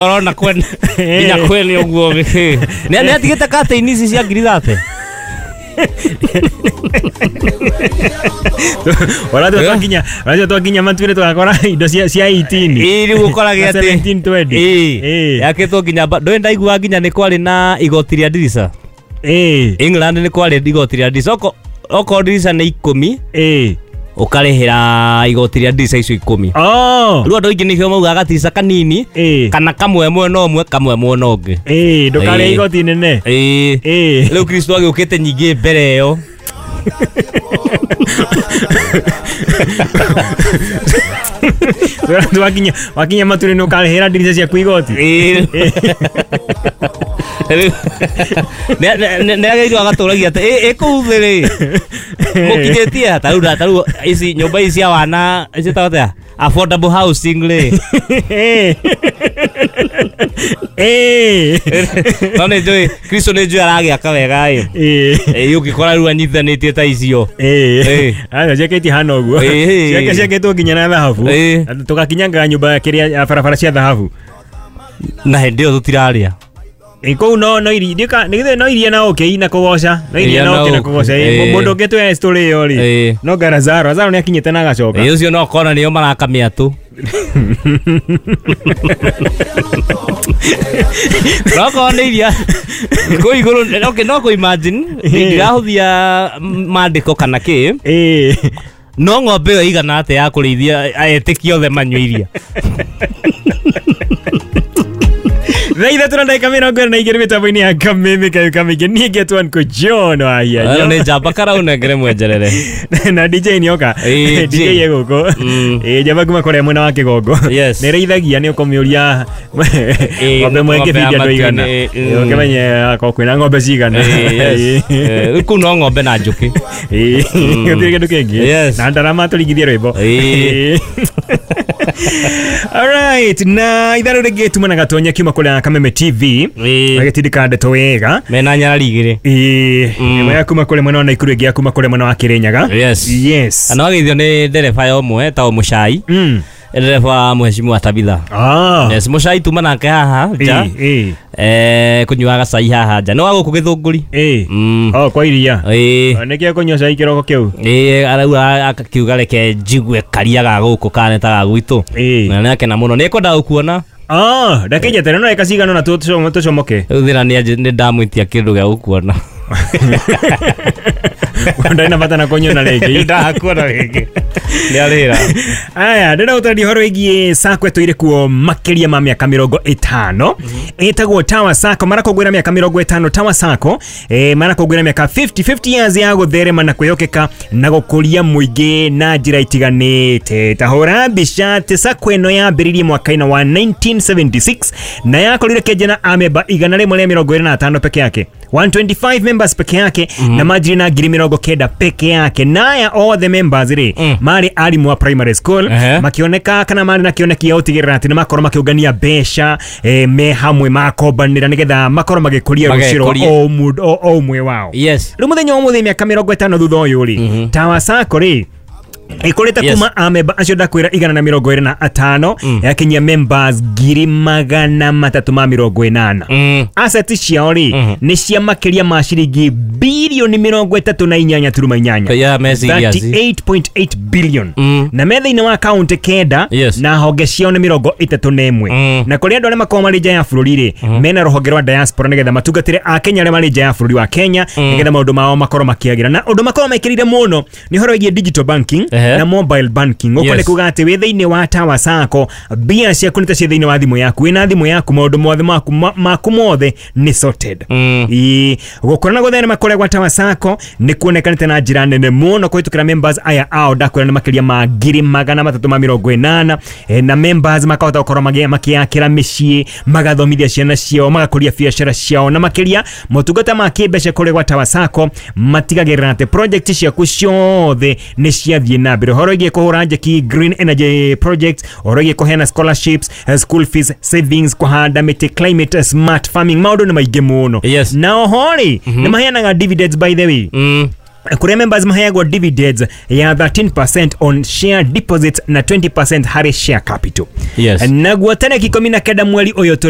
Orona kwene nginya kwene ũguo nĩ atigĩte curtain ici cia ngiri 30. Ũrathiĩ twakinya matuĩre tũgakora indo cia 18. Ĩĩ rĩu ũkorage atĩ 17 20. Ĩĩ yakĩtwo nginya ndũĩ ndaigua nginya nĩ kwarĩ na igoti rĩa ndirica. Ĩĩ. England nĩ kwarĩ igoti rĩa ndirica. Okorwo ndirica nĩ 10 Ĩĩ. ũkarĩhĩra igoti rĩa ndirica icio 10. Oh. Rĩu andũ aingĩ nĩkĩo maugaga gatirica kanini Ĩĩ. kana kamwe mwena ũmwe kamwe mwena ũngĩ. Ĩĩ ndũkarĩhe igoti inene. Ĩĩ. Ĩĩ. Rĩu Kristo agĩũkĩte nyingĩ mbere ĩyo. Wakinya wakinya matuĩre nĩ ũkarĩhĩra ndirica ciaku igoti. Ĩĩ. Nĩ agĩrĩirwo agatũragia atĩ ĩ kũu thĩ rĩ mũkinyĩtie ta rĩu ta rĩu ici nyũmba ici cia wana ciĩtagwo atĩa affordable housing rĩ. Ĩĩ. No nĩ njũĩ Kristo nĩ njũĩ aragĩaka wega ĩ. Ĩĩ. Ĩ ũngĩkora rĩu anyitithanĩtie ta icio. Ĩĩ. Aca ciakĩtie hana ũguo. Ĩĩ. Ciake ciakĩtwo nginya na thahabu. Ĩĩ. Tũgakinyangaga nyũmba kĩrĩa barabara cia thahabu. Na hĩndĩ ĩyo tũtirarĩa. Ĩ kũu no no iria ndika no iria na ũkĩ na kũgoca. No iria na ũkĩ na kũgoca. Mũndũ ũngĩ twĩ story ĩyo rĩ. No nga Lazaro, Lazaro nĩ akinyĩte na agacoka. Ĩ ũcio no kona nĩo maraka mĩatũ. No korwo nĩ iria kũu igũrũ okay, no kũ imagine ndirahũthia mandĩko kana kĩ. Ĩĩ. No ng'ombe ĩyo ĩigana atĩa ya kũrĩithia etĩkia othe manyue iria. Thaa ithatũ na ndagĩka 22 mĩtambo-inĩ ya Kameme kayo kamĩingĩ. Niĩ ngetwo Uncle John wa Hianyo. Nĩ njamba karaunengere mwenjerere. Na DJ nĩoka. Ĩĩ, DJ e gũkũ. Mm. Ĩĩ njamba kuma kũrĩa mwena wa Kĩgongo. Yes. Nĩrĩithagia nĩ ũkũmĩũria ng'ombe ĩmwe ng'ombe ĩngĩbindia ya andũ aigana. matuinĩ, Ĩĩ, ũkĩmenye akorwo kwĩna ng'ombe cigana. Ĩĩ, yes. Rĩu kũu no ng'ombe na njũkĩ. Ĩĩ, gũtirĩ kĩndũ kĩngĩ. Yes. Na ndarama tũringithie rwĩmbo. Ĩĩ. Ĩĩ. Alright, na itharũ rĩngĩ tuma na gatonya kiuma kũrĩa Kameme TV. Ĩĩ. Agĩtindĩka ndeto wega. Mena nyarari igĩrĩ. Ĩĩ, ĩmwe ya kuma kũrĩa mwena wa Naikuru ĩngĩ ya kuma kũrĩa mwena wa Kĩrĩnyaga. Yes. Yes. Na wageithio nĩ ndereba ya ũmwe etagwo Mũcai. Mm. Ndereba wa Mheshimiwa Tabitha. Ah. Yes, Mũcai tuma nake haha nja. Ĩĩ, ĩĩ. Kũnyuaga cai haha nja. Nĩ wa gũkũ Gĩthũngũri. Ĩĩ. Mm. Oh, kwa iria. Ĩĩ. Nĩkĩo kũnyua cai kĩroko kĩu. Ĩĩ arauga akiuga reke njigue karia ga gũkũ kana ta ga gwitũ. Ĩĩ. Na nĩakena mũno. Nĩekwenda gũkuona. Ah, ndakĩnjeterera no eka cigana na tũcomoke. Rĩu thĩna nĩ ndamwĩtia kĩndũ gĩa gũkuona. Ndarĩ na bata na kũnyona rĩngĩ. Ndakuona rĩngĩ. Nĩ arĩra. Aya, ndĩrenda gũtarĩria ũhoro wĩgiĩ sacco ĩtũire kuo makĩria ma mĩaka 50. Ĩtagwo Tower Sacco, marakũngũĩra mĩaka 50 Tower Sacco, marakũngũĩra mĩaka 50 years ya gũtherema na kwĩhokeka na gũkũria mũingĩ na njĩra itiganĩte. Ta hũra mbica atĩ sacco ĩno yambĩrĩirie mwaka-inĩ wa 1976 na yakorire kĩanjia na amemba 125 peke yake. 125 members peke yake na manjirie na 90,000 peke yake. Na aya othe members rĩ marĩ arimũ a primary school makĩoneka kana marĩ na kĩoneki gĩa gũtigĩrĩra atĩ nĩmakorwo makĩũngania mbeca me hamwe makombanĩra nĩgetha makorwo magĩkũria rũciũ rwa Magekũria. o mũndũ o ũmwe wao. Yes. Rĩu mũthenya wa ũmũthĩ mĩaka 50 thutha ũyũ rĩ Tower Sacco rĩ ĩkũrĩte Yes. kuma amemba acio ndakwĩra 125 yakinyia members 380,000. Assets ciao rĩ nĩ cia makĩria ma ciringi bilioni 38.8. Yeah, me serious. 38.8 billion. Na me thĩinĩ wa kaunti 9 Yes. na honge ciao nĩ 31. Na kũrĩ andũ arĩa makoragwo marĩ nja ya bũrũri rĩ mena rũhonge rwa diaspora nĩgetha matungatĩre akenya arĩa marĩ nja ya bũrũri wa Kenya nĩgetha maũndũ mao makorwo makĩagĩra. Na ũndũ makoragwo mekĩrĩire mũno nĩ ũhoro wĩgiĩ digital banking na mobile banking. Ũguo nĩ kuga atĩ wĩ thĩinĩ wa Tower Sacco mbia ciaku nĩ ta ciĩ thĩinĩ wa thimũ yaku. Wĩna thimũ yaku maũndũ mothe maku mothe nĩ sorted. Ĩĩ, gũkũra na gũtherema kũrĩa gwa Tower Sacco nĩ kuonekanĩte na njĩra nene mũno kũhĩtũkĩra members aya ao ndakwĩra nĩ makĩria ma 380,000 na members makahota gũkorwo makĩakĩra mĩciĩ magathomithia ciana ciao magakũria biacara ciao na makĩria motungata ma kĩmbeca kũrĩa gwa Tower Sacco matigagĩrĩra atĩ project ciaku ciothe nĩ ciathiĩ na mbere. Ũhoro wĩgiĩ kũhũra njeki green energy projects, ũhoro wĩgiĩ kũheana scholarships, school fees savings, kũhanda mĩtĩ, climate smart farming, maũndũ nĩ maingĩ mũno. Yes. Na oho rĩ nĩ maheanaga dividends by the way. Kuria members maheagwo dividends ya 13% on share deposits na 20% harĩ share capital. Yes. Naguo tarĩki 19 mweri ũyũ tũrĩ